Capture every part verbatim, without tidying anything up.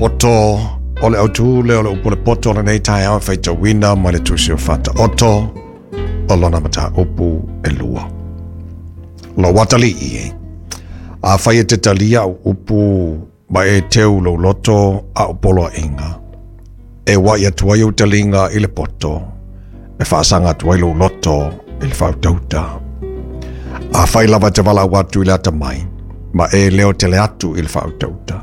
Poto o le autu le o le upu le poto o lenei taeao e faitauina mai le tusi o Faataoto o lona mataupu e lua. Lou atalii e, afai e te talia au upu ma e teu lou loto a o poloaiga, e ua'i atu ai ou taliga i le poto, e faasaga atu ai lou loto i le faautauta. Afai lava e te valaau atu i le atamai, ma e leo tele atu i le faautauta.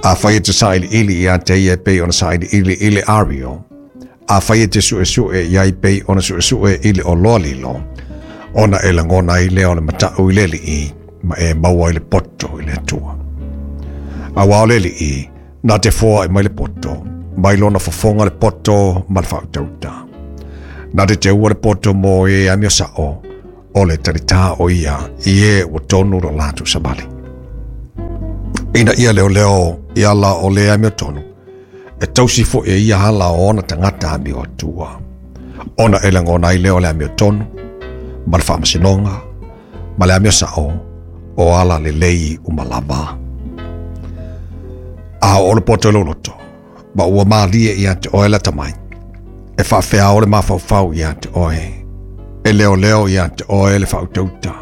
Afai e te sailiili ia te ia e pei ona sailiili i le ario, afai e te suesue i ai pei ona suesue i le oloa lilo, ona e lagona ai lea o le mata'u i le Alii, ma e maua ai le poto i le Atua. Auā o le Alii, na te foa'i mai le poto, mai lona fofoga le poto ma le faautauta. Na te teua le poto mo e amio sa'o, o le talitā o ia i e ua tonu lo latou savali. Ina ia leoleo i ala o le amiotonu, e tausi fo'i e ia ala o ona tagata amio atua. Ona e lagona ai lea o le amiotonu, ma le faamasinoga, ma le amio sa'o, o ala lelei uma lava. A oo le poto i lou loto, ma ua malie ia te oe le atamai, e faafeao le mafaufau ia te oe, e leoleo ia te oe le faautauta,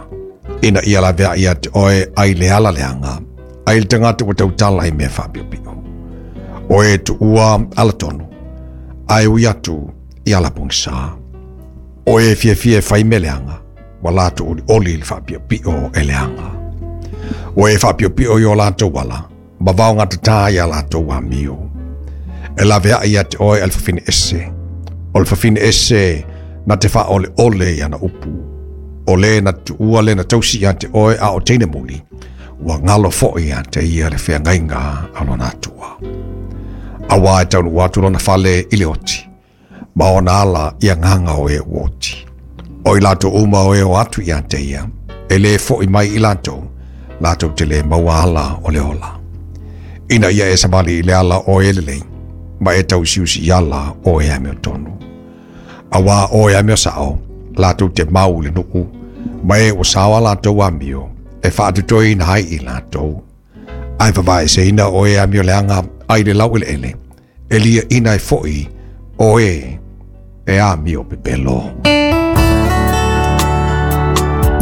ina ia laveai ia te oe ai le ala leaga, ai le tagata ua tautala i mea faapiopio. O e tuua alatonu, ae ui atu i ala pogisa. O e fiafia e fai mea leaga, ua latou olioli i le faapiopio e leaga. O e faapiopio i o latou ala, ma vaogatatā i a latou amio. E laveai ia te oe a le fafine ese, o le fafine ese na te faaoleole i ana upu. O le na tuua le na tausi ia te oe a o teine muli, ua galo fo'i ia te ia le feagaiga a lona Atua. Auā e taunuu atu lona fale i le oti, ma ona ala i agaga o e ua oti. O i latou uma o e o atu ia te ia, e lē fo'i mai i latou, latou te lē maua ala o le ola. Ina ia e savali i le ala o e lelei, ma e tausiusi i ala o e amiotonu. Auā o e amio sa'o, latou te mau i le nuu, ma e ua sao a latou amio, e faatotoina ai i latou. Ae vavaeseina o e amio leaga ai le laueleele, e liaʻina ai fo'i o e e amio pepelo.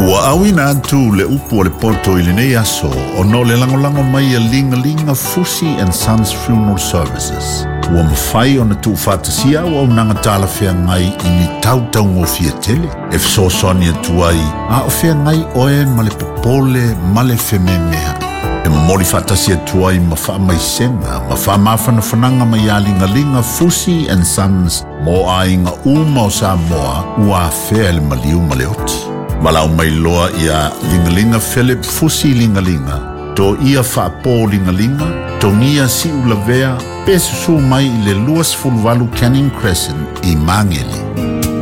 Ua auina atu le upu o le poto i lenei aso ona o le lagolago mai a Ligalia Fusi and Sons Funeral Services. Ua mafai ona tuufaatasia auaunaga talafeagai i ni tautaugofie tele e fesoasoani atu ai a o feagai oe ma le popole ma le fememea'i. E momoli faatasi atu ai ma faamaisega ma faamafanafanaga mai ia Ligaliga Fusi and Sons mo aiga uma o Samoa ua afea e le maliu ma le oti. Valaau mai loa ia Ligaliga Philip Fusi Ligaliga, to ia faapō Ligaliga, Togia Siulavea, pe susū mai i le luasefuluvalu Canning Crescent i Magele.